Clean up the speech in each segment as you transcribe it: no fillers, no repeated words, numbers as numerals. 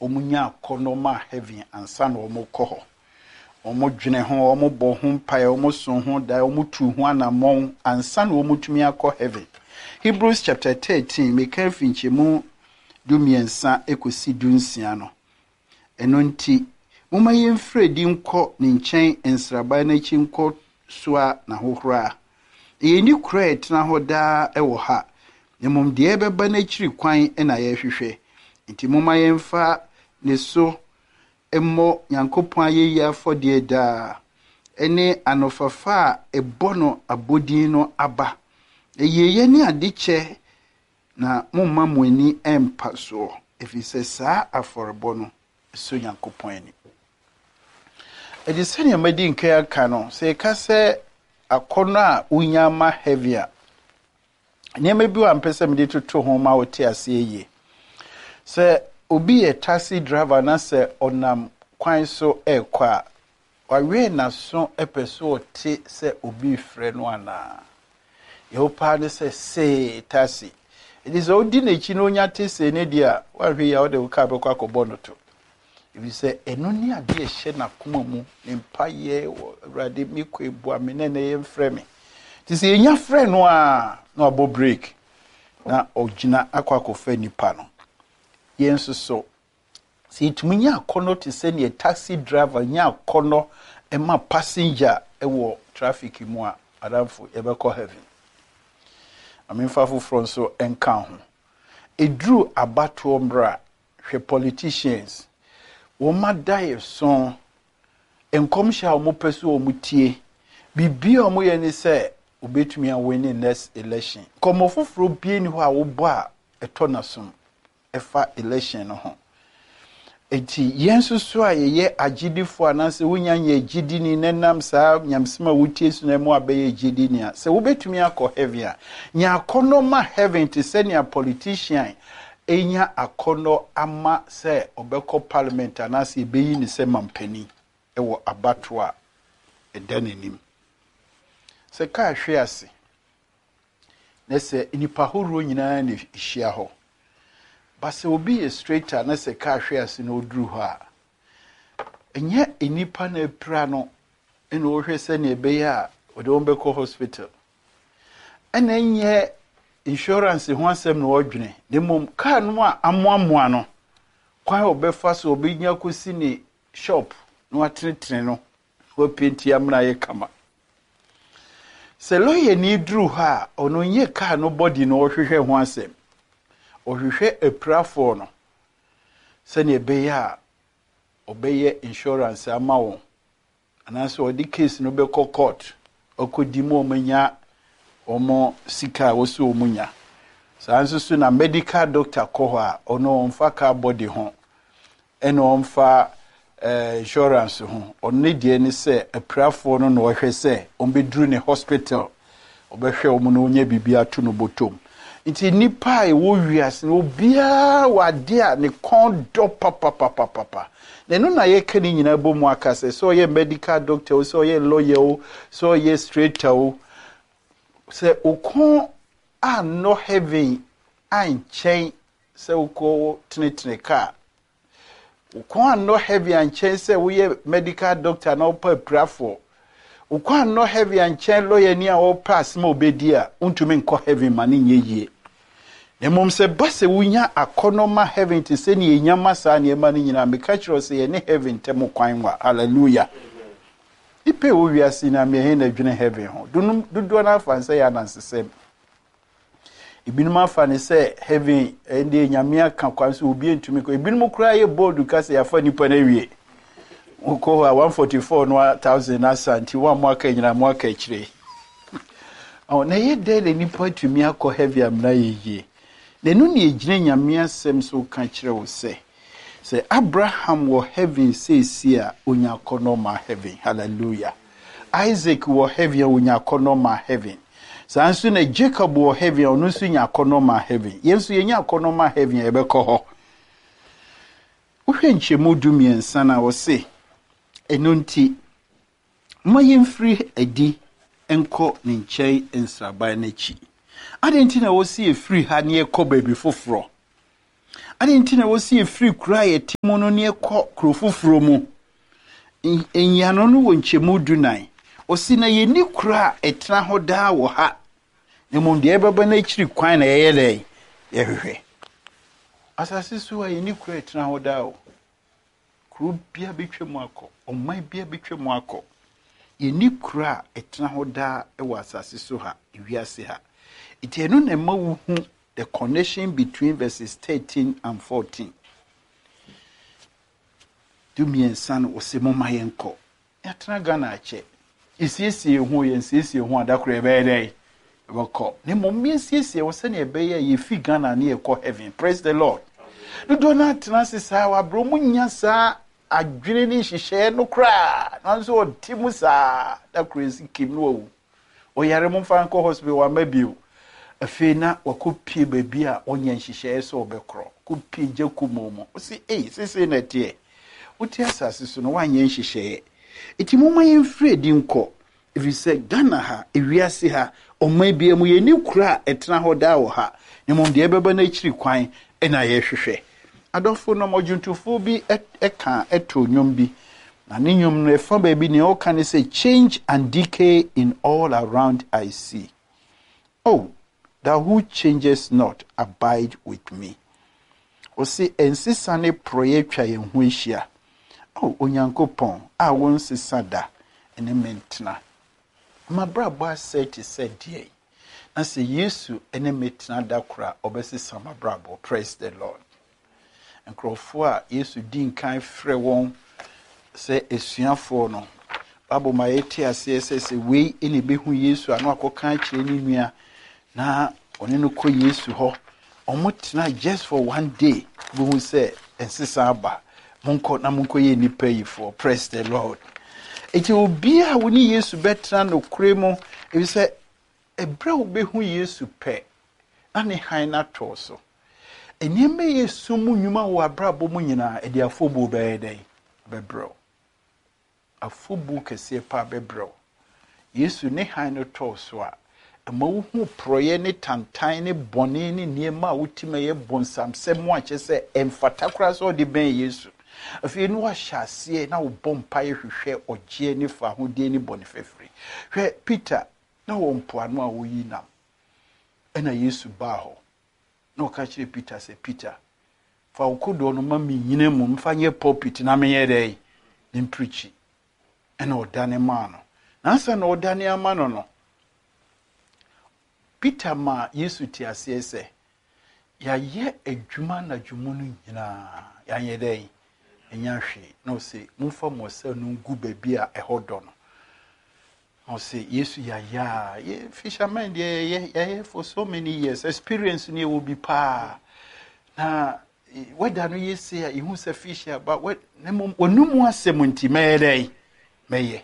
wɔnya akɔnnɔ ma heaven ansa na wɔkɔ hɔ. Wɔdwene ho, wɔbɔ ho mpaeɛ, wɔso ho daeɛ, wɔtu ho anammɔn ansa na wɔtumi akɔ heaven. Hebrews chapter 13, meka afi nkyɛmu 13 kɔsi 16 no. Ɛno nti, momma yɛmfiri adi nkɔ ne nkyɛn nsraban no akyi nkɔ soa n'ahohora. Na yɛnni kuro a ɛtena hɔ daa wɔ ha, na mmom deɛ ɛbɛba no akyiri kwan na yɛrehwehwɛ. Nti momma yɛmfa ne so mmɔ Nyankopɔn ayɛyie afɔdeɛ daa, ne anofafa a ɛbɔ no abodin no aba. Na yieyɛ ne adekyɛ na momma mo ani mpa soɔ, ɛfiri sɛ saa afɔrebɔ no sɔ Nyankopɔn ani. Ɛde sɛnea madi nkan aka no, sɛ yɛka sɛ akɔnnɔ a wonya ma heaven a, nneɛma bi wɔ a mpɛ sɛ mede toto ho ma wote aseɛ yie. Sɛ obi yɛ taxi driver na sɛ ɔnam kwan so ɛrekɔ a, wawɛn n'aso pɛ so ɔte sɛ obi refrɛ no anaa. Yɛwɔ paa ne sɛ see taxi. Ɛti sɛ odi n'akyi na onya te see ne deɛ a, wahwɛ yi a ɔde wo kaa bɛkɔ akɔbɔ no to. Ɛfiri sɛ ɛno ne adeɛ ɛhyɛ n'akoma mu, ne mpayɛ wɔ Awurade mekɔ ebua me na ɛnɛ yɛmfrɛ me. Nti sɛ yɛnya frɛ no a, na wabɔ break na ɔgyina akɔ akɔfa nipa no. Yɛn nso so, sɛ yɛtumi nya akɔnnɔ te sɛ neɛ taxi driver nya akɔnnɔ ma passenger wɔ traffic mu a, adamfo yɛbɛkɔ heaven. Amemfa foforɔ nso nka ho. Ɛduru abatoɔ mmerɛ a, hwɛ politicians. Wɔn ada yɛ so. Nkɔmhyɛ a wɔpɛ so wɔn tie. Biribi a wɔyɛ ne sɛ obetumi awin next election. Nkɔmmɔ foforɔ bie ni hɔ a wobɔ a ɛtɔ n'asom ɛfa election no ho. Eti yɛn nso so a yɛyɛ agyidifoɔ anaasɛ wonya nyɛ gyidini na nam saa nyamesɛm a wotie so na mu abɛyɛ gyidini a, sɛ wobɛtumi akɔ heaven a, nya akɔnnɔ ma heaven te sɛ nea politician enya akɔnnɔ ama sɛ ɔbɛkɔ parliament anaasɛ yɛbɛyi ne sɛ mampanin ɛwɔ abatoɔ a ɛda n'anim. Sɛ kaa hwe ase na sɛ nnipa ahoroɔ nyinaa na ɛhyia hɔ, ba sɛ obi yɛ straight a na sɛ kaa hwe ase na ɔduru hɔ a, ɛnyɛ nnipa na apira no ɛna ɔhwɛ sɛnea ɛbɛyɛ a ɔde wɔn bɛkɔ hospital. Ɛna ɛnyɛ insurance ho asɛm na ɔdwene, na mmom kaa no a amoamoa no, kwan a ɔbɛfa so ɔbɛnya kɔsi ne shop na watenetene no, wapaint amena ayɛ kama. Sɛ lawyer ni duru hɔ a, ɔno nyɛ kaa no body na ɔhwehwɛ ho asɛm. Ɔhwehwɛ apirafoɔ no sɛnea ɛbɛyɛ a ɔbɛyɛ insurance ama wɔn anaasɛ ɔde case no bɛkɔ court ɔkɔdi mu wɔn anya wɔn sika a wɔsi wɔn nya. Saa nso so na medical doctor kɔ hɔ a, ɔno ɔmfa car body ho ɛna ɔmfa insurance ho. Ɔno ne deɛ ne sɛ apirafoɔ no na ɔhwɛ sɛ ɔmbɛduru ne hospital, ɔbɛhwɛ wɔn na ɔnya biribi ato no bɔtɔm. Nti nipa a ɛwɔ wiase no, obiara wɔ adeɛ a ne kɔn dɔ papapapapa. Na ɛno na yɛka ne nyinaa bɔ mu aka sɛ sɛ ɔyɛ medical doctor o, sɛ ɔyɛ lawyer o, sɛ ɔyɛ straighter o, sɛ okɔn annɔ heaven ankyɛn sɛ wokɔ tenetene kaa, wokɔn annɔ heaven ankyɛn sɛ woyɛ medical doctor na wopɛ apirafoɔ, wokɔn annɔ heaven ankyɛn lawyer ni a wɔpɛ asɛm a obɛdi a, wontumi nkɔ heaven ma ne nyɛ yie. Na mmom sɛ ba sɛ wonya akɔnnɔ ma heaven te sɛ nea ɛnya ma saa nneɛma no nyinaa, meka kyerɛ wo sɛ yɛne heaven ntam kwan wa. Hallelujah. Nipa a ɛwɔ wiase nyinaa, mmiɛnhe na adwene heaven ho. Dodoɔ no afa sɛ yɛ anansesɛm. Ebinom afa ne sɛ heaven ɛnde Nyame aka kwan so obi ntumi kɔ. Ebinom koraa yɛ bold ka sɛ yɛafa nipa no awie. Wokɔ hɔ a 144 no thousand asa nti wɔn a mo aka nyinaa mo aka akyire. Ɔ na ɛyɛ dɛn na nipa tumi akɔ heaven amena yɛ yie? Na ɛno na egyina Nyame asɛm so ka kyerɛ wo sɛ sɛ Abraham wɔ heaven seesie a, onya akɔnnɔ ma heaven. Hallelujah. Isaac wɔ heaven a, onya akɔnnɔ ma heaven. Saa nso na Jacob wɔ heaven a, ɔno nso nya akɔnnɔ ma heaven. Yɛn nso yɛnya akɔnnɔ ma heaven a, yɛbɛkɔ hɔ. Wohwɛ nkyɛmu 13 no a, wɔse, ɛno nti, ma yɛmfiri adi nkɔ ne nkyɛn nsraban n'akyi. Adɛn nti na wɔsi yɛfiri ha ne yɛkɔ baabi foforɔ? Adɛn nti na ɛwɔ sɛ yɛfiri kuro a yɛte mu no ne yɛkɔ kuro foforɔ mu? Nyiano no wɔ nkyɛmu dunan. Ɔsi na yɛnni kuro a ɛtena hɔ daa wɔ ha, na mmom deɛ ɛbɛba no akyiri kwan na yɛyɛ dɛn? Yɛhwehwɛ. Asase so a yɛnni kuro a ɛtena hɔ daa o. Kuro biara bɛtwa mu akɔ, ɔman biara bɛtwa mu akɔ. Yɛnni kuro a ɛtena hɔ daa wɔ asase so ha, ewiase ha. Nti ɛno na ɛma wohu the connection between verses 13 and 14. 13 no, wɔse momma yɛnkɔ. Yɛatena Ghana akyɛ. Yɛsiesie yɛn ho, yɛnsiesie yɛn ho a, da koro yɛbɛyɛ dɛn? Yɛbɛkɔ. Na mmom yɛnsiesie wɔ sɛnea ɛbɛyɛ a yɛfi Ghana ne yɛkɔ heaven. Praise the Lord. Dodoɔ no atena ase saa wɔ aberɛ mu nya saa adwene ne nhyehyɛeɛ no koraa, nanso ɔte mu saa, da koro yɛsi kim no wawu. Ɔyare momfa nkɔ hospital wamma bio. Afei na wakɔpie baabi a ɔnyɛ nhyehyɛeɛ sɛ ɔbɛkorɔ. Kɔpie gya kumoo mu. Ɔsi ei seesei na ɛteɛ. Wote asase so no woanyɛ nhyehyɛeɛ. Enti momma yɛmfiri adi nkɔ. Ɛfiri sɛ Ghana ha, ewiase ha, ɔman biara mu yɛnni kuro a ɛtena hɔ daa wɔ ha. Na mmom deɛ ɛbɛba no akyiri kwan na yɛhwehwɛ. Adɔfo nom, ɔdwontofoɔ bi ka too nnwom bi, na ne nnwom no ɛfa baabi nea ɔka ne sɛ, Change and decay in all around I see. Oh, thou who changes not, abide with me. Ɔse ɛnsesa ne porɔeɛ atwa yɛn ho ahyia. Oh, Onyankopɔn a wonsesa da, ne me ntena. M'abrabɔ asɛe te sɛ deɛn? Na sɛ Yesu ne me tena da koro a, ɔbɛsesa m'abrabɔ. Praise the Lord. Nkurɔfoɔ a Yesu di nkan frɛ wɔn sɛ asuafoɔ no, Bible ma yɛte aseɛ sɛ sɛ wei na ɛbɛhu Yesu a na wakɔka akyerɛ ne nua na ɔne no kɔ Yesu hɔ. Wɔtena just for one day, bohu sɛ nsesa aba. Monkɔ na monkɔyɛ nnipa yifoɔ. Praise the Lord. Enti obiara a wo ne Yesu bɛtena nokorɛ mu, efisɛ ɛberɛ a wobɛhu Yesu pɛ, na ne hann no atɔ so. Nneɛma yɛ sum mu nnwuma wɔ abrabɔ mu nyinaa, ɛde afɔbuo bɛyɛ dɛn? Bɛbrɛ wo. Afobu kɛseɛ paa bɛbrɛ wo. Yesu ne hann no tɔ wo so a, ɛma wohu porɔeɛ ne tantan ne bɔne ne nneɛma a wotim ɛyɛ bonsamsɛm a kyerɛ sɛ ɛmfata koraa sɛ ɔde bɛn Yesu. Afei na wahyɛ aseɛ na wobɔ mpaeɛ hwehwɛ ɔgyeɛ ne fahodie ne bɔne fafiri. Hwɛ Peter, na wɔ mpoano a ɔyi nam. Ɛna Yesu baa hɔ. Na ɔka kyerɛɛ Peter sɛ, Peter, fa wo kodoɔ no ma mennyina mu mfa nyɛ pulpit na menyɛ dɛn? Memprikyi. Ɛna ɔdane maa no. Na ansa na ɔdane ama no no, Peter maa Yesu te aseɛ sɛ, yɛayɛ adwuma anadwo mu no nyinaa, yɛanyɛ dɛn? Ɛnya hwee. Na ɔse, momfa mo ɔsa no ngu baabi a ɛhɔ dɔ no. Ɔse Yesu yɛayɛ a, yɛ fishermen deɛ yɛyɛ yɛayɛ for so many years, experience no yɛwɔ bi paa. Na weather no yɛ sei a, yɛhu sɛ fish aba, na mmom wɔn mu asɛm nti mɛyɛ dɛn? Mɛyɛ.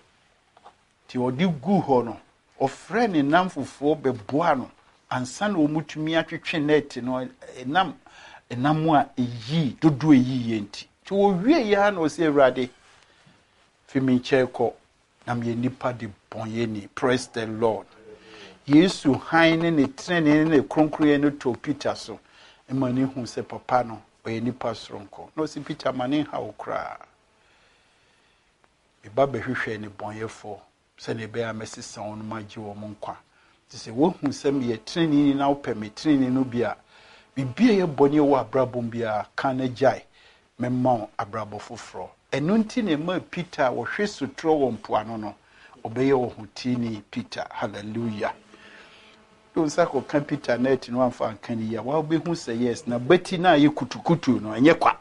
Nti ɔde guu hɔ no, ɔfrɛ ne nnamfofoɔ bɛboa no ansa na wɔtumi atwetwe net no, ɛnam ɛnam a ɛyii, dodoɔ ɛyiiɛ nti. Nti wɔwie yɛ ara na ɔsɛ Awurade, fi me nkyɛn kɔ, Na meyɛ nipa de bɔnyɛni. Praise the Lord. Yesu hann ne ne trenee ne ne kronkronyɛ no tɔɔ Peter so ma ne hu sɛ papa no ɔyɛ nipa soronko. Na ɔsi Peter ma ne nha wo koraa. Meba bɛhwehwɛ ne bɔnyɛfoɔ sɛnea ɛbɛyɛ a mɛsesa wɔn ma agye wɔn nkwa. Nti sɛ wohu sɛ meyɛ treneeni na wopɛ me trenee no bi a, biribi a ɛyɛ bɔne wɔ abrabɔ mu biara, ka na gyae. Mɛma wo abrabɔ foforɔ. Ɛno nti na ɛmaa Peter a wɔhwe sotorɔ wɔ mpoano no, ɔbɛyɛ ɔhoteeni Peter. Hallelujah. De wo nsa kɔka Peter net no amfa anka ne yie a, wobɛhu sɛ yes, na bati no a ɛyɛ kutukutu no, ɛnyɛ kwa.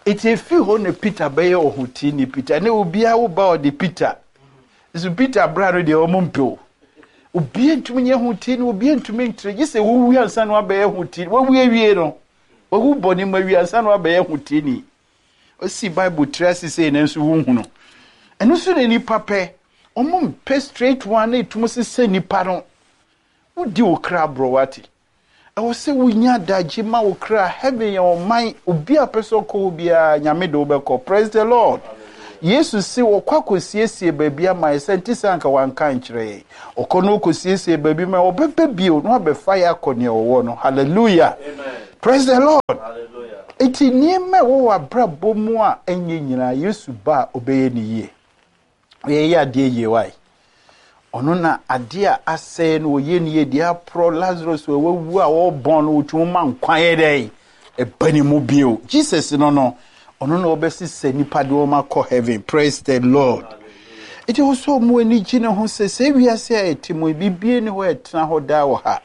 Eti efi hɔ na Peter bɛyɛ ɔhoteeni Peter. Ne obiara wo ba ɔde Peter. Nso Peter bra no deɛ wɔn mpɛ o. Obiara ntumi nyɛ hoteeni, obiara ntumi ntere. Gye sɛ wowu ansa na wabɛyɛ hoteeni. Wawu awie no, wawu bɔne mu awie ansa na wabɛyɛ hoteeni. Osi Bible tiri ase sei nanso wonhunu. Ɛno nso na nipa pɛ. Wɔn mpɛ straight one na etum sesa nipa no. Wodi wo kra borɔ wate. Ɛwɔ sɛ wonya adagye ma wo kra. Heaven yɛ ɔman. Obi a pɛ sɛ ɔkɔ hɔ biara, Nyame de wobɛkɔ. Praise the Lord. Yesu se ɔkɔ akɔsiesie baabi ama yɛn, sɛ nte saa anka wanka ankyerɛ yɛn. Ɔkɔ na ɔkɔsiesie baabi ma yɛn, ɔbɛba bio na wabɛfa yɛn akɔ nea ɔwɔ no. Hallelujah! Praise the Lord! Enti nneɛma a ɛwɔ w'abrabɔ mu a ɛnyɛ nyinaa, Yesu ba a ɔbɛyɛ ne yie. Ɔyɛ adeɛ yie wae. Ɔno na adeɛ a asɛe no ɔyɛ ne yie, deɛ aporɔ Lazarus a wawu a ɔrebɔn no ɔtumi ma nkwa yɛ dɛn ɛba ne mu bio. Jesus no no, ɔno na ɔbɛsesa nipa de wɔn akɔ heaven. Praise the Lord. Eti wɔ sɛ ɔmo ani gye ne ho sɛ sɛ wiase a ɛte mu bibie ne hɔ a ɛtena hɔ daa wɔ ha.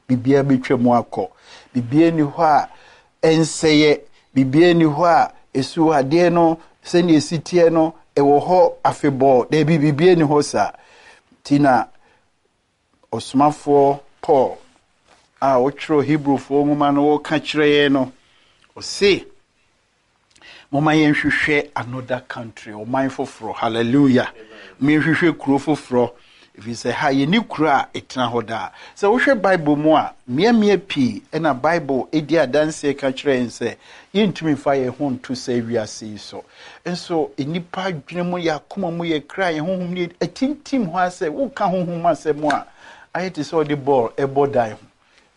Biribiara bɛtwa mu akɔ. Biribiara nni hɔ a ɛnsɛeɛ. Biribiara nni hɔ a ɛsu adeɛ no sɛdeɛ ɛsi teɛ no ɛwɔ hɔ afebɔɔ. Daabi, biribiara nni hɔ saa. Nti na ɔsomafoɔ Paul a ɔtwerɛ Hebrewfoɔ nwoma no ɔka kyerɛ yɛn no, ɔse, Momma yɛnhwehwɛ another country, ɔman foforɔ. Hallelujah. Momma yɛnhwehwɛ kuro foforɔ. Ɛfiri sɛ ha yɛni kuro a ɛtena hɔ daa. Sɛ wohwɛ Bible mu a, mmeammea pii na Bible di adanseɛ ka kyerɛ yɛn sɛ yɛntumi mfa yɛn ho nto saa wiase yi so. Nso nnipa adwene mu, yɛn akoma mu, yɛn kra, yɛn honhom ne atintim hɔ ara sɛ woka honhom asɛm a, ayɛ te sɛ ɔde bɔɔl ɛbɔ dan ho.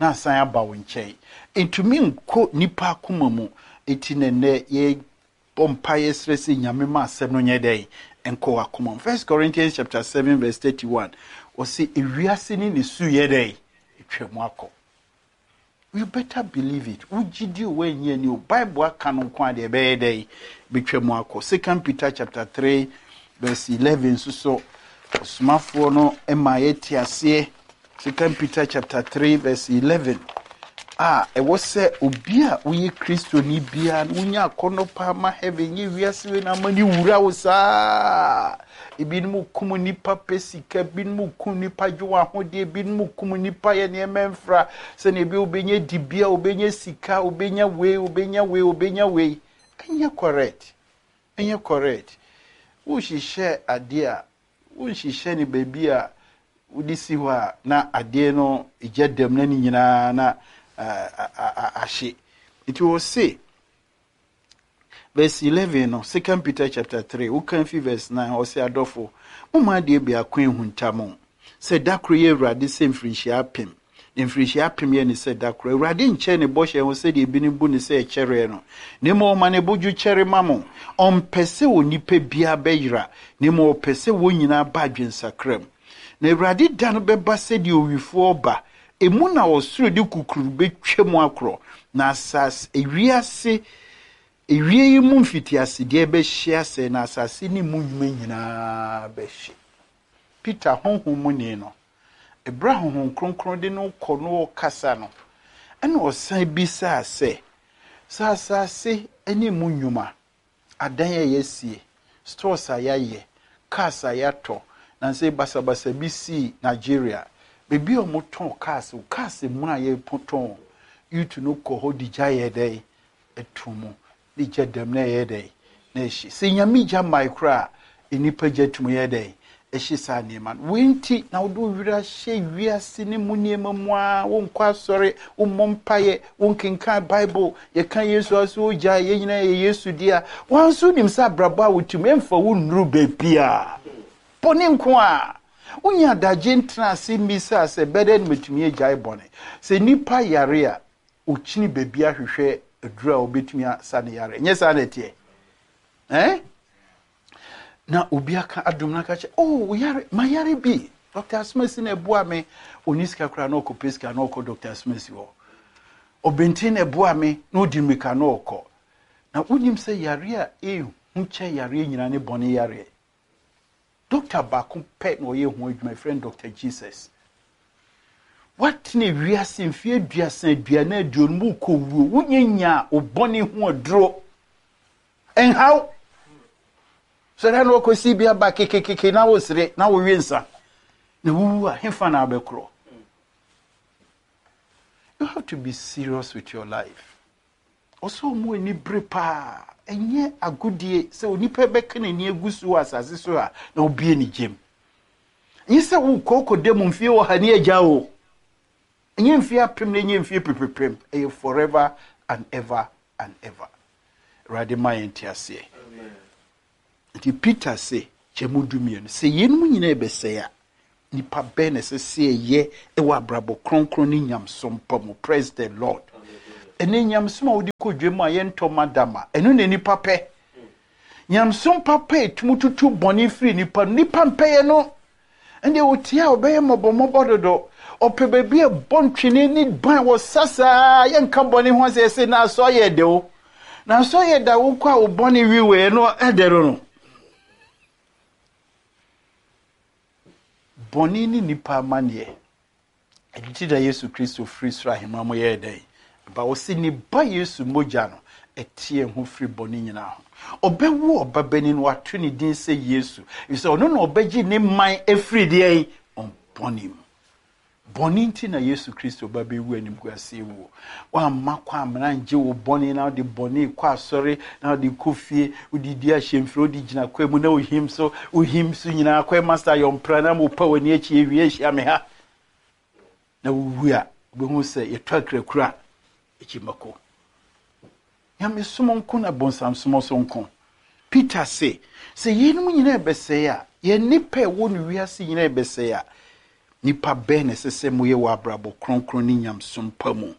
na asan aba wo nkyɛn. Ɛntumi nkɔ nnipa akoma mu. Enti na nnɛ yɛbɔ mpaeɛ srɛ sɛ Nyame ma asɛm no nyɛ dɛn? Nkɔ w'akoma mu. First Corinthians chapter 7 verse 31, ɔse ewiase ne ne su yɛ dɛn? Atwa mu akɔ. You better believe it. Wogye di o, woannye anni o, Bible aka no nko a deɛ ɛbɛyɛ dɛn? Bɛtwa mu akɔ. Second Peter chapter 3 verse 11 nso so, ɔsomafoɔ no ma yɛte aseɛ Second Peter chapter 3 verse 11 a ɛwɔ sɛ obi a woyɛ Kristoni biara no wonya akɔnnɔ paa ma heaven nyɛ wiase wei na ama ne wura wo saa. Ebinom kum nnipa pɛ sika, ebinom kum nnipa gye wɔn ahodeɛ, ebinom kum nnipa yɛ nneɛma mfra sɛnea ebi wobɛnya dibea, wobɛnya sika, wobɛnya wei, wobɛnya wei, wobɛnya wei. Ɛnyɛ correct. Ɛnyɛ correct. Wohyehyɛ adeɛ a Wonhyehyɛ no baabi a wode si hɔ a na adeɛ no gya dam na ne nyinaa na ahye. Nti wɔse verse 11 no, Second Peter chapter 3, wokan fi verse 9, ɔse adɔfo, momma adeɛ biako nhunta mo, sɛ da koro yɛ Awurade sɛ mfirinhyia apem, Na mfirihyia apem yɛ ne sɛ da koro. Awurade nkyɛ ne bɔhyɛ ho sɛdeɛ ebinom bu no sɛ ɛkyɛreɛ no, na mmom ɔma ne bo dwo kyɛre ma mo. Ɔmpɛ sɛ onipa biara bɛyera, na mmom ɔpɛ sɛ wɔn nyinaa ba adwensakra mu. Na Awurade da no bɛba sɛdeɛ owifoɔ reba. Emu na ɔsoro de kukururu bɛtwa mu akorɔ, na asase, ewiase, ewie yi mu mfitiasedeɛ bɛhye asɛe, na asase ne mu nnwuma nyinaa bɛhye. Peter, honhom muni no, Bere a Honhom Kronkron de no rekɔ na ɔrekasa no, ɛnna ɔsan bisaa sɛ, Sɛ asase ne emu nnwuma, adan a yɛasie, stores a yɛayɛ, cars a yɛatɔ, nnansa yi basabasa bi sii Nigeria, baabi a wɔtɔn cars, cars mu a yɛtɔn, youth no kɔ hɔ de gya yɛ dɛn? To mu. Ne gya dam na ɛyɛ dɛn? Na ɛhye. Sɛ Nyame gya mmae koraa a, nnipa gya tumi yɛ dɛn? Ɛhye saa nneɛma no. Wei nti na wode wo werɛ ahyɛ wiase no mu nneɛma mu ara, wonkɔ asɔre, wommɔ mpaeɛ, wonkenkan Bible, yɛka Yesu a so wogyae, yɛn nyinaa yɛ Yesu dea. Woa nso wonim sɛ abrabɔ a wote mu ɛmfa wo nnuru baabiara. Bɔne nko ara. Wonya adagye ntena ase mmisaa sɛ, bɛdɛn na matumi agyae bɔne? Sɛ nnipa yare a, ɔkyini baabi ahwehwɛ aduru a ɔbɛtumi asa ne yare. Ɛnyɛ saa na ɛteɛ? Eh? Na obi aka adom no aka kyɛ, oh, yare, ma yare bi. Dr. Asomasi na ɛboa me. Ɔni sika koraa na ɔkɔpɛ sika na ɔkɔ Dr. Asomasi hɔ. Ɔbɛnten na ɛboa me na ɔdi mmirika na ɔkɔ. Na wonim sɛ yare a ɛhu kyɛ yareɛ nyinaa ne bɔne yareɛ. Dɔkta baako pɛ na ɔyɛ ho adwuma, yɛfrɛ no Dɔkta Jesus. Woatena wiase mfeɛ aduasa, aduanan, aduonum, wokɔ wuo, wonyɛ nyaa wo bɔne ho aduro. Ɛnhaw. Sɔre na wɔkɔsi bi aba kekekeke na wosere na wowe nsa. Na wowu a, hefa na abɛkorɔ? You have to be serious with your life. Ɔsɛ wɔn ani bere paa. Ɛnyɛ agodie sɛ onipa bɛka n'ani agu so wɔ asase so a na ɔbue ne gyam. Ɛnyɛ sɛ wokɔ kɔda mu mfie ɔha ne agya o. Ɛnyɛ mfie apem na ɛnyɛ mfie pepepem. Ɛyɛ forever and ever and ever. Awurade ma yɛn nteaseɛ. Nti Peter se, kyɛ mu 12, sɛ yeinom nyinaa ɛbɛsɛe a, nipa bɛn na ɛsɛ sɛ yɛyɛ wɔ abrabɔ kronkron ne nyamesom pa mu? Praise the Lord. Ɛnɛ nyamesom a wode kɔ dwam a yɛntɔ madama, ɛno na nipa pɛ. Nyamesom papa a ɛtumi tutu bɔne firi nipa no, nipa mpɛyɛ no. Ɛnde ɔtie a ɔbɛyɛ mmɔbɔmmɔbɔ dodo. Ɔpɛ baabi a ɛbɔ ntwene ne ban wɔ sa saa, yɛnka bɔne ho asɛ yɛsɛ na asɔ yɛ de o. Na asɔ yɛ da wokɔ a wo bɔne wiwee no ɛdɛ no no. Bɔne ne nipa amanneɛ. Ɛno nti na Yesu Kristo firi soro ahemman mu yɛɛ dɛn? Ba. Ɔse ne ba Yesu mogya no ɛte yɛn ho firi bɔne nyinaa ho. Ɔbɛwo ɔbabanin, wato ne din sɛ Yesu, efisɛ ɔno na ɔbɛgye ne man afiri deɛn? Wɔn bɔne mu. Bɔne nti na Yesu Kristo ba bɛwu animguaseɛ wuo. Woamma kwan amena angye wo bɔne na wode bɔne kɔ asɔre na wode kɔ fie, wode di ahyɛmfiri, wode gyina kwa mu na wohim so, wohim so nyinaa kɔ master yɔmpra na mopa w'ani akyi awie ahyia me ha. Na wowu a, wobɛhu sɛ yɛtɔ akrakura akyi mako. Nyamesom nko na bonsamsom nso nko. Peter se, sɛ yeinom nyinaa ɛbɛsɛe a, yɛn nnipa a ɛwɔ no wiase nyinaa ɛbɛsɛe a, nnipa bɛn na ɛsɛ sɛ moyɛ wɔ abrabɔ kronkron ne nyamesom pa mu?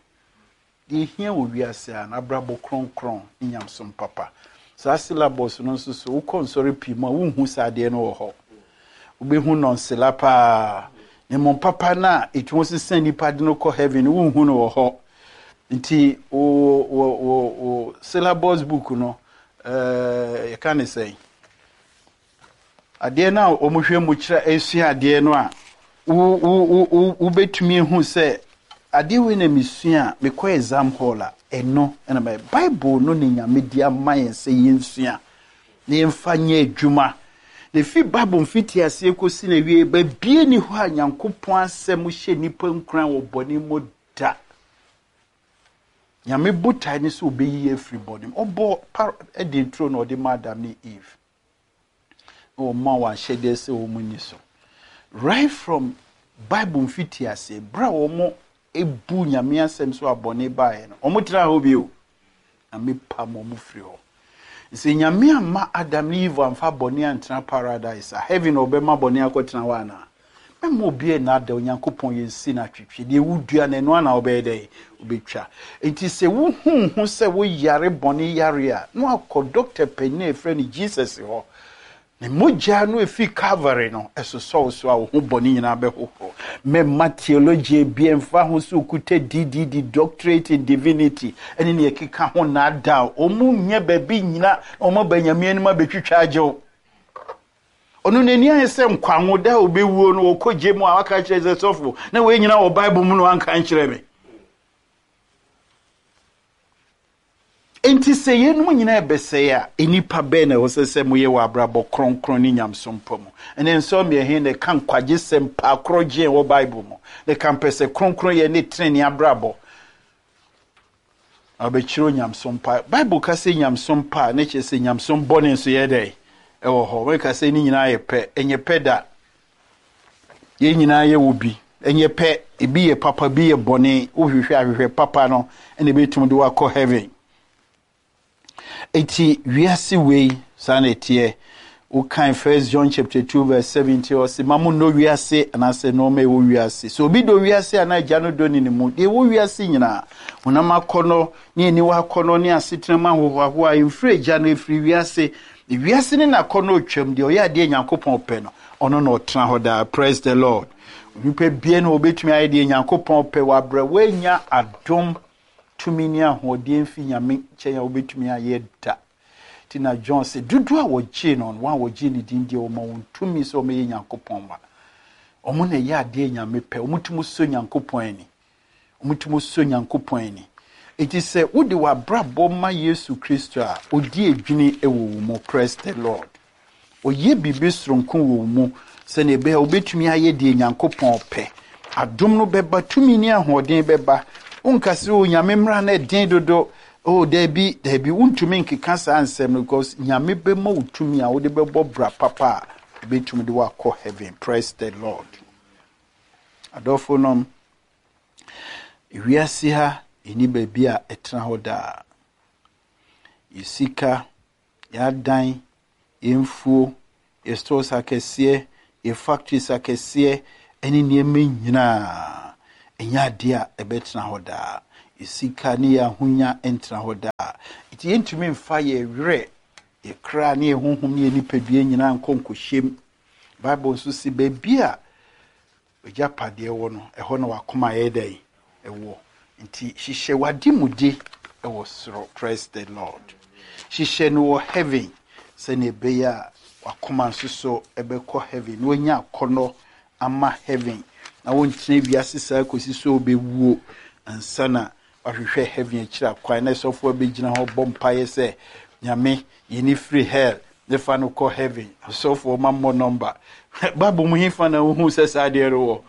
Deɛ ɛhia wɔ wiase ara no, abrabɔ kronkron ne nyamesom papa. Saa syllabus no nso so, wokɔ nsɔre pii mu a, wonhu saa adeɛ no wɔ hɔ. Wobɛhu nɔnsela paa. Na mmom papa no a ɛtumi sesa nnipa de no kɔ heaven no, wonhu no wɔ hɔ. Nti wo wo wo wo syllabus book no, ɛɛ yɛka ne sɛn? Adeɛ no a wɔhwɛ mu kyerɛ esua adeɛ no a, wo wo wo wobɛtumi ehu sɛ adeɛ wei na mesua a mekɔ exam hall a ɛno ɛna mɛ Bible no ne Nyame de ama yɛn sɛ yɛnsua na yɛmfa nyɛ adwuma. Na efi Bible mfitiaseɛ kɔsi n'awie baabi ni hɔ a Nyankopɔn asɛm hyɛ nnipa nkuran wɔ bɔne mu da. Nyame botae ne sɛ ɔbɛyi yɛ afiri bɔne mu. Ɔbɔ par Eden turo na ɔde ma Adam ne Eve. Na ɔma wɔn ahyɛdeɛ sɛ wɔn nni so. Right from Bible mfitiaseɛ, berɛ a wɔn ebu Nyame asɛm so a bɔne baeɛ no, wɔn tena hɔ bio. Nyame pam wɔn firi hɔ. Sɛ Nyame amma Adam ne Eve amfa bɔne antena paradise a, heaven na ɔbɛma bɔne akɔtena hɔ anaa? Mɛma obi nnaadaa Onyankopɔn yɛ nsi no atwetwe. Deɛ wodua no, ɛno ara na wobɛyɛ dɛn? Wobɛtwa. Enti sɛ wohu ho sɛ woyare bɔne yare a, na wakɔ dɔkta panin a yɛfrɛ no Jesus hɔ. Ne mogya no ɛfiri Calvary no, ɛsosɔ wo so a wo ho bɔne nyinaa bɛhohoro. Mɛma theology bi ɛmfa ho sɛ okuta DDD, Doctorate in Divinity, ɛne nea ɛkeka ho nnaadaa. Wɔn nyɛ baabi nnyina na wɔn aba Nyame anim abɛtwitwa agye wo. Ɔno n'ani ayɛ sɛ nkwanwo da a ɔbɛwuo no ɔkɔ gye mu a waka kyerɛ sɛ sɔfo na wei nyina wɔ Bible mu na wanka nkyerɛ me. Enti sɛ yeinom nyinaa ɛbɛsɛe a, nnipa bɛn na ɛwɔ sɛ sɛ moyɛ wɔ abrabɔ kronkron ne nyamesom pa mu? Ɛnɛ nsɔmmeɛ he na ɛka nkwagyesɛm paa korɔgye wɔ Bible mu, na ɛka mpɛsɛ kronkronyɛ ne tenenee abrabɔ. Na wɔbɛkyerɛ onyamesom pa. Bible ka sɛ nyamesom pa a, na kyerɛ sɛ nyamesom bɔne nso yɛ dɛn? Ɛwɔ hɔ. Wɔka sɛ ne nyinaa yɛ pɛ. Ɛnyɛ pɛ da. Yɛn nyinaa yɛ wɔ bi. Ɛnyɛ pɛ. Ebi yɛ papa, bi yɛ bɔne. Wohwehwɛ ahwehwɛ papa no, ɛna ebɛtumi de wakɔ heaven. Eti wiase wei saa na ɛteɛ. Wokan First John chapter 2 verse 17 ɔse ma mo nnɔ wiase anaasɛ nneɛma ɛwɔ wiase. Sɛ obi dɔ wiase a na agya no dɔ ne ne mu. Deɛ ɛwɔ wiase nyinaa, honam akɔnnɔ ne aniwa akɔnnɔ ne asetena mu ahohoahoa ɛmfiri agya no, ɛfiri wiase. Wiase ne n'akɔnnɔ retwam, deɛ ɔyɛ adeɛ Nyankopɔn pɛ no, ɔno na ɔtena hɔ daa. Praise the Lord. Onipa bia na ɔbɛtumi ayɛ deɛ Nyankopɔn pɛ wɔ abrɛ woanya adom tumi ne ahoɔden mfi Nyame nkyɛn a wobɛtumi ayɛ da. Nti na John sɛ dodoɔ a wɔgyee no no, wɔn a wɔgyee ne din deɛ wɔma wɔn tumi sɛ wɔyɛ Nyankopɔn mma. Wɔn na ɛyɛ adeɛ Nyame pɛ, wɔtumi sɔ Nyankopɔn ani. Wɔtumi sɔ Nyankopɔn ani. Enti sɛ wode w'abrabɔ ma Yesu Kristo a, ɔdi adwini wɔ wo mu. Praise the Lord. Ɔyɛ biribi soronko wɔ wo mu sɛnea ɛbɛyɛ a wobɛtumi ayɛ deɛ Nyankopɔn pɛ. Adom no bɛba, tumi ne ahoɔden bɛba. Wonka sɛ, o Nyame mmara no ɛden dodo. Oh, daabi, daabi, wontumi nkeka saa nsɛm no because Nyame bɛma wo tumi a wode bɛbɔ bra papa a ɛbɛtumi de woakɔ heaven. Praise the Lord. Adɔfo nom, wiase ha ɛni baabi a ɛtena hɔ daa. Yɛ sika, yɛ adan, Yɛn mfuo, yɛn stores akɛseɛ, yɛn factories akɛseɛ, ne nneɛma nyinaa, ɛnyɛ adeɛ a ɛbɛtena hɔ daa. Yɛn sika ne yɛn ahonya ntena hɔ daa. Nti yɛntumi mfa yɛn werɛ, yɛn kra ne yɛn honhom ne yɛn nipadua nyinaa nkɔ nkɔhyɛm. Bible nso se baabi a w'agyapadeɛ wɔ no, ɛhɔ na w'akoma yɛ dɛn? Ɛwɔ. Nti hyehyɛ w'ademude wɔ soro. Praise the Lord. Hyehyɛ no wɔ heaven sɛnea ɛbɛyɛ a w'akoma nso so ɛbɛkɔ heaven na wanya akɔnnɔ ama heaven na wontena wiase saa kɔsi sɛ wobɛwuo ansa na wahwehwɛ heaven akyiri akwan na sɔfoɔ bɛgyina hɔ bɔ mpaeɛ sɛ Nyame yi ne firi hell ne fa no kɔ heaven. Asɔfoɔ ma mmɔ nɔmba. Bible mu hefa na wohu sɛ saa adeɛ no wɔ?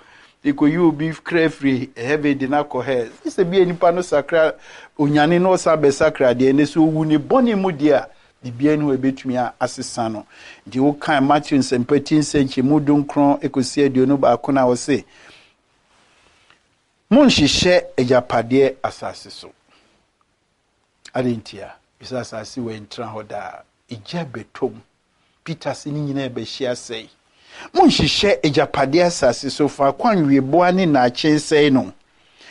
Ɛkɔyi obi kra firi heaven de no akɔ hell. Sɛ bia nipa no sakra onyane na ɔsan bɛsakra deɛ, ne sɛ owu ne bɔne mu deɛ a, biribiara ni hɔ ɛbɛtumi asesa no. Nti wokan Matthew nsɛmpa ti nsɛnkyɛmu 19 kɔsi 21 no a, ɔse, Monhyehyɛ agyapadeɛ asase so. Adɛn ntia? Efisɛ asase wei ntra hɔ daa. Egya bɛtɔ mu. Peter se ne nyinaa bɛhye asɛe. Monhyehyɛ agyapadeɛ asase so, faako a nweweboa ne nnaakye nsɛe no,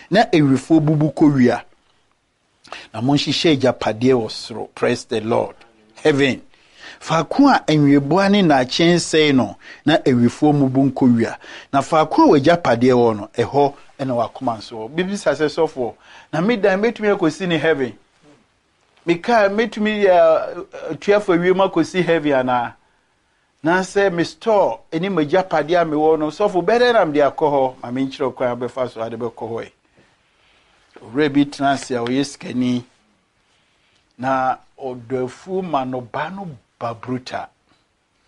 na awifoɔ bubu kɔwia. Na monhyehyɛ agyapadeɛ wɔ soro. Praise the Lord. Heaven. Faako a nweweboa ne nnaakye nsɛe no, na awifoɔ mmubu nkɔwia. Na faako a w'agyapadeɛ wɔ no, ɛhɔ na w'akoma nso wɔ. Bibisa sɛ, sɔfoɔ, na me dan mɛtumi akɔsi ne heaven? Me kaa mɛtumi atua fa wiem akɔsi heaven anaa? Na sɛ me store ne m'agyapadeɛ a mewɔ no, sɔfo, bɛdɛn na mede akɔ hɔ? Ma menkyerɛ kwan a wobɛfa so ade bɛkɔ hɔ ɛ. Owura bi tena ase a ɔyɛ sikani, na ɔdɔ afuo ma nnɔbaa no ba bruta.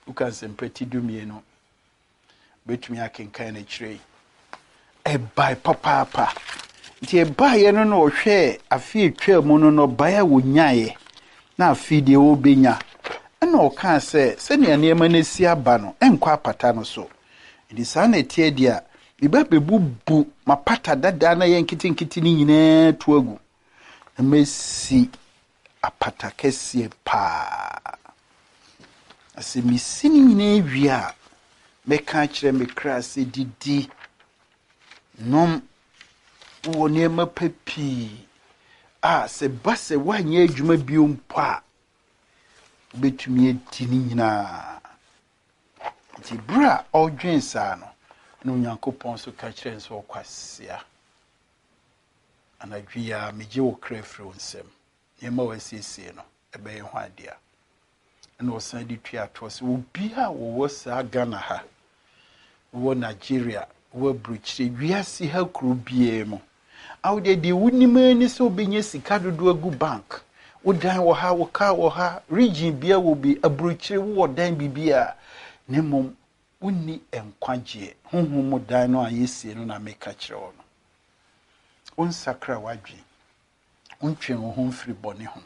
Luka Nsɛmpa ti 12. Wobɛtumi akenkan no akyire yi. Ɛbae papaapa. Nti ɛbaeɛ no na ɔhwɛɛ afe atwaa mu no nnɔbaeɛ a wɔnyaeɛ na afe deɛ wɔbɛnya. Ɛna ɔkaa sɛ sɛnea nneɛma no asi aba no, ɛnkɔ apata no so. Nti saa na ɛteɛ deɛ a, meba bɛbubu m'apata dadaa na ɛyɛ nketenkete no nyinaa to agu na masi apata kɛseɛ paa. Na sɛ mesi ne nyinaa wie a, mɛka akyerɛ me kra sɛ didi, nom, wowɔ nneɛma pa pii a sɛ ba sɛ woanyɛ adwuma bio mpo a, wobɛtumi adi ne nyinaa. Nti berɛ a ɔredwen saa no, na Onyankopɔn nso ka kyerɛ no sɛ ɔkwasea. Anadwo yi ara megye wo kra firi wo nsam. Nneɛma a wasiesie no, ɛbɛyɛ ho adeɛ. Ɛna ɔsan de tua toɔ sɛ obiara a wɔwɔ saa Ghana ha, wɔ Nigeria, wɔ aburokyire, wiase ha kuro biara mu, a wodeɛ deɛ wonim ara ni sɛ wobɛnya sika dodoɔ agu bank, wo dan wɔ ha, wo car wɔ ha, region biara wɔ bi, aburokyire wowɔ dan biribiara, na mmom wonni nkwagyeɛ. Honhom mu dan no a yɛsie no na meka kyerɛ wo no. Wonsakra w'adwene. Wontwe wo ho mfiri bɔne ho.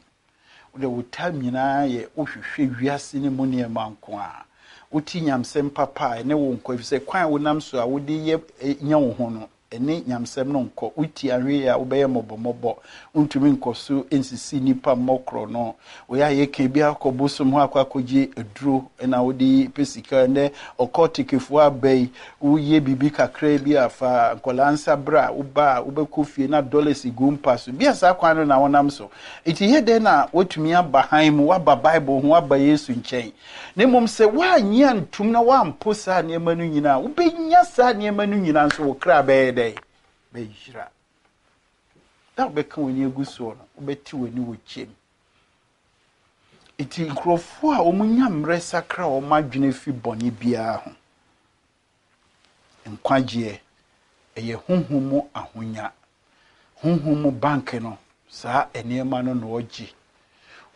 Wode wo time nyinaa yɛ wohwehwɛ wiase no mu nneɛma nko a. Wote nyamsɛm papa a ɛne wo nkɔ, efisɛ kwan a wonam so a wode yɛ nya wo ho no, ɛne nyamsɛm no nkɔ. Wotie ahwɛ yie a wobɛyɛ mmɔbɔmmɔbɔ. Wontumi nkɔ so nsisi nnipa mmɔ korɔno. Woyɛ a yɛka bi akɔ bosom hɔ akɔ akɔgye aduro na wode pɛ sika. Ɛnnɛ ɔkɔɔtekefoɔ aba yi, woyɛ biribi kakra bi a fa nkwadaa nsa bra, woba a wobɛkɔ fie na dollars gu mpa so. Bi a saa kwan no na wonam so. Enti yɛ dɛn na woatumi aba hann mu, woaba Bible ho, woaba Yesu nkyɛn? Na mmom sɛ woannye antom na woampo saa nneɛma no nyinaa a, wobɛnya saa nneɛma no nyinaa nso wo kra bɛyɛ dɛn? Bɛyera. Da a wobɛka w'ani agu soɔ no, wobɛte w'ani wɔ kyɛm. Enti nkurɔfoɔ a wɔnya mmerɛ sakra wɔn adwene fi bɔne biara ho. Nkwagyeɛ, ɛyɛ honhom mu ahonya. Honhom mu bank no, saa nneɛma no na ɔgye.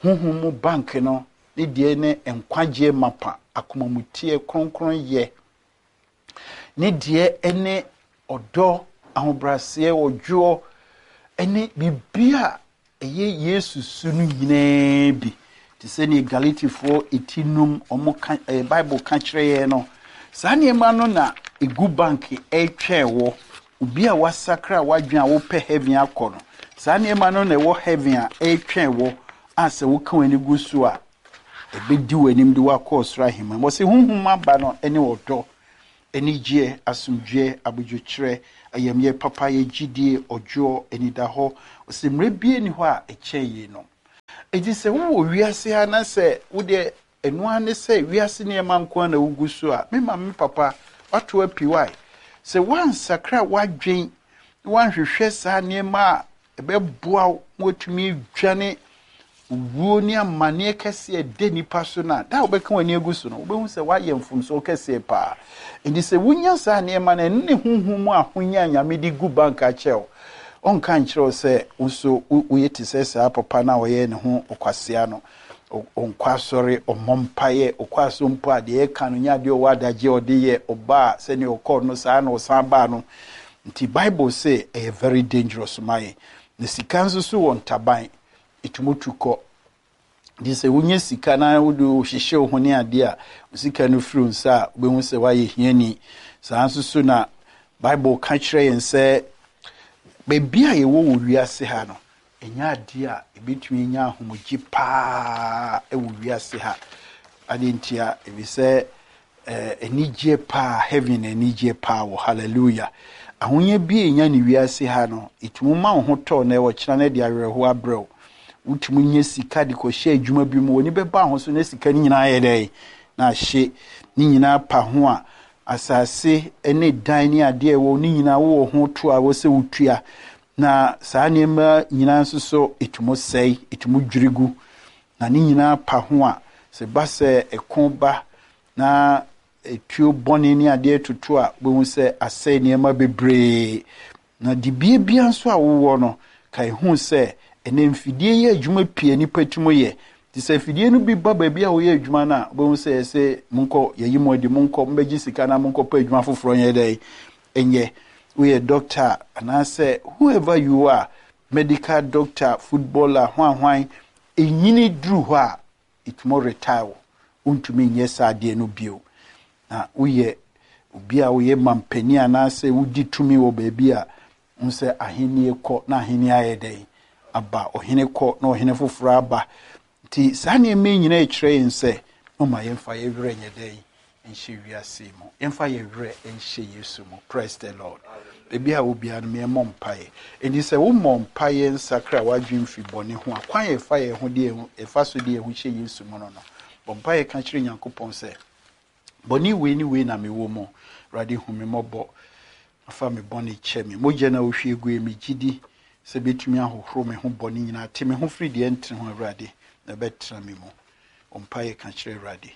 Honhom mu bank no ne deɛ ne nkwagyeɛ mapa, akomamuteɛ, kronkronyɛ. Ne deɛ ne ɔdɔ, ahobrɛaseɛ, ɔdwoɔ, ne biribi a ɛyɛ Yesu su no nyinaa bi. Te sɛ nea Galatifoɔ ti num wɔn ka ɛɛ Bible ka kyerɛ yɛn no, saa nneɛma no na egu bank ɛretwɛn wɔ obi a wasakra wadwene a wopɛ heaven akɔ no. Saa nneɛma no na ɛwɔ heaven a ɛretwɛn wɔ a sɛ woka w'ani gu so a. ɛbɛdi w'anim de wo akɔ ɔsoro ahemman mu. Ɔse honhom aba no ne ɔdɔ, anigyeɛ, asomdwoeɛ, abodwokyerɛ, ayamyɛ, papayɛ, gyidie, ɔdwoɔ, anidahɔ. Ɔse mmerɛ biara nni hɔ a ɛkyɛn yeinom. Enti sɛ wowɔ wiase ha na sɛ wodeɛ ɛno ara ne sɛ wiase nneɛma nko ara na wogu so a, me maame me papa, woato api why? Sɛ woansakra w'adwen na woanhwehwɛ saa nneɛma a ɛbɛboa wo ma woatumi adwane owuo ne amanneɛ kɛseɛ a ɛda nnipa so no a, da a wobɛka w'ani agu so no, wobɛhu sɛ woayɛ mfomsoɔ kɛseɛ paa. Enti sɛ wonya saa nneɛma no, ɛno ne honhom mu ahonya a Nyame de gu bank akyɛ wo. Ɔnka nkyerɛ wo sɛ wo nso woyɛ te sɛ saa papa no a ɔyɛ ne ho ɔkwasea no. Ɔnkɔ asɔre, ɔmmɔ mpaeɛ, ɔkɔ asɔre mpo a deɛ ɛka no nyɛ adeɛ ɔwɔ adagyeɛ a ɔde yɛ, ɔba a sɛdeɛ ɔkɔɔ no saa na ɔsan baa no. Nti Bible se ɛyɛ very dangerous ma yɛn. Na sika nso so wɔ ntaban, ɛtumi tu kɔ. Nti sɛ wonya sika na wode hyehyɛ wo ho ne adeɛ a, wo sika no firi wo nsa a, wobɛhu sɛ woayɛ hiani. Saa nso so na Bible ka kyerɛ yɛn sɛ baabi a yɛwɔ wɔ wiase ha no, ɛnyɛ adeɛ a yɛbɛtumi anya ahomegye paa wɔ wiase ha. Adeɛ ntia, ɛfiri sɛ Eh, anigyeɛ paa, heaven anigyeɛ paa wɔ, hallelujah. Ahonya bi a ɛnya ne wiase ha no, ɛtumi ma wo ho tɔ na ɛwɔ kyena no de awerɛhoɔ abrɛ wo. Wotumi nya sika de kɔhyɛ adwuma bi mu, w'ani bɛba ho so na sika no nyinaa yɛ dɛn? Na ahye. Ne nyinaa pa ho a, asase ne dan ne adeɛ ɛwɔ ne nyinaa wowɔ ho to a wɔ sɛ wotua. Na saa nneɛma nyinaa nso so, ɛtumi sɛe, ɛtumi dwiri gu. Na ne nyinaa pa ho a, sɛ ɛba sɛ ɛko ba na etuo bɔne ne adeɛ toto a, wobɛhu sɛ asɛe nneɛma bebree. Na dibea biara nso a wowɔ no, kae hu sɛ ɛnɛ mfidie yɛ adwuma pii a nnipa tumi yɛ. Nti sɛ afidie no bi ba baabi a woyɛ adwuma no a, wobɛhu sɛ yɛsɛ monkɔ, yɛyi mo adi, monkɔ, mobɛgye sika na monkɔpɛ adwuma foforɔ nyɛ dɛn nyɛ. Woyɛ dɔkta anaasɛ whoever you are, medical doctor, footballer, hwanhwan, Enyini duru hɔ a, etumi retire wo. Wontumi nyɛ saa adeɛ no bio. Na woyɛ obi a woyɛ mampanin anaasɛ wodi tumi wɔ baabi a, wohu sɛ ahennie kɔ na ahennie ayɛ dɛn? Aba. Ɔhene kɔ na ɔhene foforɔ aba. Nti saa nneɛma yi nyinaa kyerɛ yɛn sɛ, momma yɛmfa yɛn werɛ nyɛ dɛn? Nhyɛ wiase yi mu. Yɛmfa yɛn werɛ nhyɛ Yesu mu. Praise the Lord. Baabi a wɔ biara no, yɛmmɔ mpaeɛ. Enti sɛ wommɔ mpaeɛ nsakra w'adwene mfiri bɔne ho a, kwan a yɛfa yɛn ho de yɛn ho, yɛfa so de yɛn ho hyɛ Yesu mu no no, bɔ mpaeɛ ka kyerɛ Nyankopɔn sɛ, bɔne wei ne wei na mewɔ mu. Awurade hu me mmɔbɔ. Fa me bɔne kyɛ me. Mogya no a wohwie guiɛ, megye di sɛ bɛtumi ahohoro me ho bɔne nyinaa. Te me ho firi deɛ ɛntene ho, Awurade, na ɛbɛtena me mu. Bɔ mpaeɛ ka kyerɛ Awurade.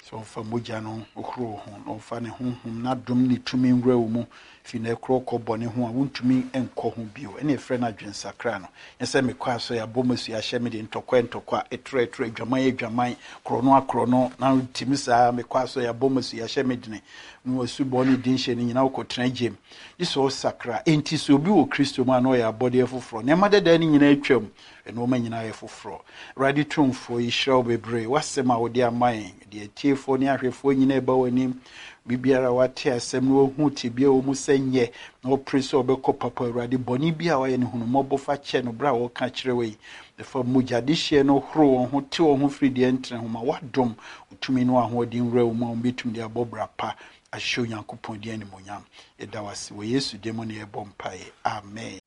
Sɛ ɔmfa mogya no nhohoro wo ho, na ɔmfa ne honhom, n'adom ne tumi nwura wo mu, fi nnɛ korɔ kɔ bɔne ho a wontumi nkɔ ho bio. Ɛne ɛfrɛ no adwensakra no. Nyɛ sɛ mekɔ asɔre, abɔ m'asu, ahyɛ me de ntɔkwa ntɔkwa, ɛtorɔ ɛtorɔ, adwaman adwaman, korɔno akorɔno, na wotumi saa, mekɔ asɔre, abɔ m'asu, ahyɛ me dene, na w'asubɔ ne denhyɛ no nyinaa wokɔtena gyem. Gye sɛ ɔsakra. Enti sɛ obi wɔ Kristo mu a na ɔyɛ abɔdeɛ foforɔ. Nneɛma dada no nyinaa atwam. Nnoɔma nyinaa yɛ foforɔ. Awurade Tumfoɔ, yɛhyira wo bebree, w'asɛm a wode ama yɛn. Yɛde atiefoɔ ne ahwɛfoɔ nyinaa ɛba w'anim. Biribiara a wate asɛm no wahu tebea wɔ mu sɛ nyɛ, na ɔpere sɛ ɔbɛkɔ papa. Awurade, bɔne bi a wayɛ no, hunu mmɔbɔ fa kyɛ no berɛ a wɔka kyerɛ wo yi. Fa mogya dehyeɛ no horo wɔn ho, te wɔn ho firi deɛ ɛntene ho. Ma w'adom, wo tumi ne w'ahoɔden nwura wɔn mu a wɔbɛtumi de abɔ bra pa ahyɛ Onyankopɔn din animuonyam. Yɛda wo ase wɔ Yesu din mu na yɛbɔ mpaeɛ. Amen.